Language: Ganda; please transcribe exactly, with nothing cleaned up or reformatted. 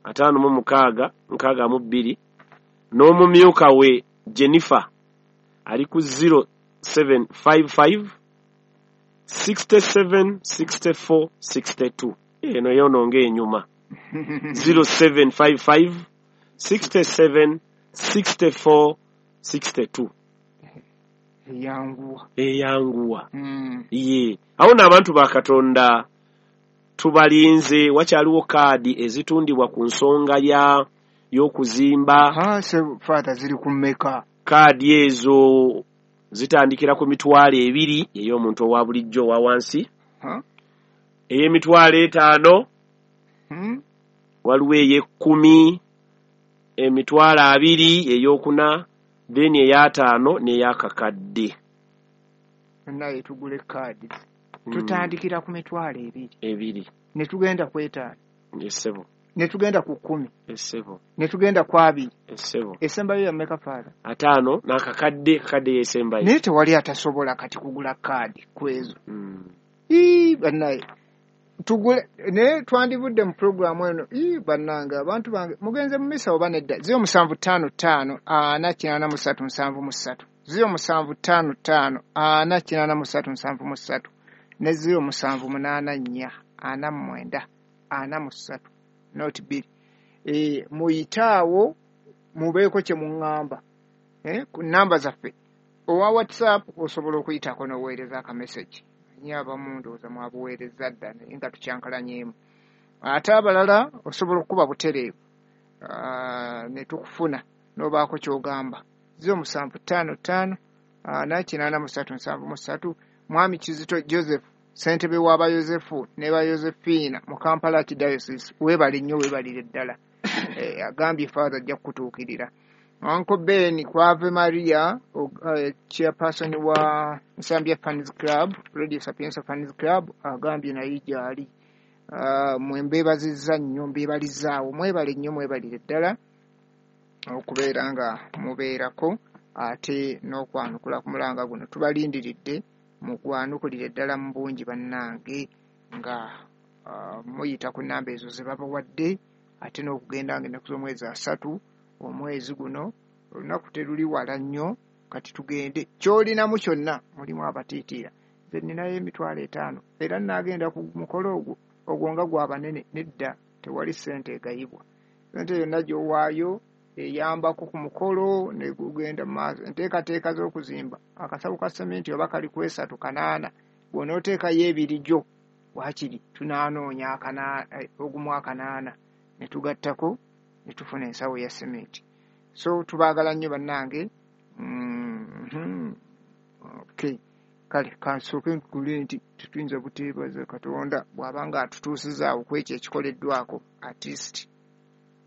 ataano mu mukaaga nkaaga mu bbiri, n'omumyuka we Jennifer ali ku zero seven five five sixty seven sixty four sixty two. Eno yono ng'enyuma. zero seven five five sixty seven sixty four sixty two. Eyanguwa. Eyanguwa. Mm. Ye. Awo n'abantu ba Katonda tubalinze, wakyaliwo kaadi ezitundibwa ku nsonga ya y'okuzimba. Ha, se Father ziri ku mmeka? Kaadi ezo zitandikira ku mitwalo ebiri ey'omuntu owa bulijjo owa wansi. Ha? Ey'emitwalo etaano. Hmm? Waliwo ey'ekkumi, emitwalo abiri ey'okuna, then ey'ataano n'ey'akakadde. Naye tugule kaadi. Mm. Tutandikira ku mitwalo ebiri. Ebiri. Ne tugenda ku etaano. Essebo. Ne tugenda ku kkumi. Essebo. Ne tugenda ku abiri. Essebo. Esembayo ya mmeka, Father? Ataano n'akakadde, kakadde yesembayo. Naye tewali atasobola kati kugula kaadi ku ezo. Mm. Ii, bannaye. Tugule, naye twandivudde mu pulogulaamu eno. Ii, bannange, abantu bange, mugenze mu misa oba nedda? Ziro musanvu ttaano ttaano, ana kinaana mu ssatu nsanvu mu ssatu. Ziro musanvu ttaano ttaano, ana kinaana mu ssatu nsanvu mu ssatu. Ne ziro musanvu munaana nnya, ana mu mwenda, ana mu ssatu, not bbiri. Eh, muyite awo, mubeeko kye muŋŋamba. Eh, ku nnamba zaffe. Owa WhatsApp osobola okuyitako n'oweereza akamessage. Nnyo abamu ndowooza mwabuweereza dda naye nga tukyankalanyeemu. Ate abalala osobola okukuba butereevu, ah, ne tukufuna n'obaako ky'ogamba. Ziro musanvu ttaano ttaano, ana kinaana mu ssatu nsanvu mu ssatu. Mwami Kizito Joseph, ssentebe w'aba Yosefu ne ba Yosefiina mu Kampala Archdiocese, weebale nnyo, weebalire ddala. Eh, agambye Father ajja kukutuukirira. Uncle Ben Kwave Maria, uh, chairperson wa Nsambya Fans Club, Radio Sapienza Fans Club, agambye naye gy'ali. Uh, mwe mbeebazizza nnyo, mbeebalizaawo, mwebale nnyo, mwebalire ddala okubeera nga mubeerako ate n'okwanukula ku mulanga guno. Tubalindiridde, mugwanukulire ddala mu bungi bannange nga, uh, muyita ku nnamba ezo ze babawadde, ate n'okugenda nga ennaku z'omwezi asatu omwezi guno, olunaku teruli wala nnyo, kati tugende. Ky'olinamu kyonna mulimu abatiitiira. Nze nninayo emitwalo etaano era nnaagenda ku mukolo ogwo, ogwo nga gwa banene. Nedda, tewali ssente egayibwa. Ssente yonna gy'owaayo eyambako ku mukolo ne gugenda mu maaso. Enteekateeka z'okuzimba akasawo ka sseminti oba kali ku esatu kanaana, bw'onooteekayo ebiri gyo waakiri tunaanoonya akana-, eh, ogumu akanaana ne tugattako ne tufuna ensawo ya sseminti. So tubaagala nnyo bannange. Mm-hmm. Okay. Kale kansooke nkule nti tetuyinza buteebaza Katonda bw'aba nga atutuusizaawo ku ekyo ekikoleddwako at least.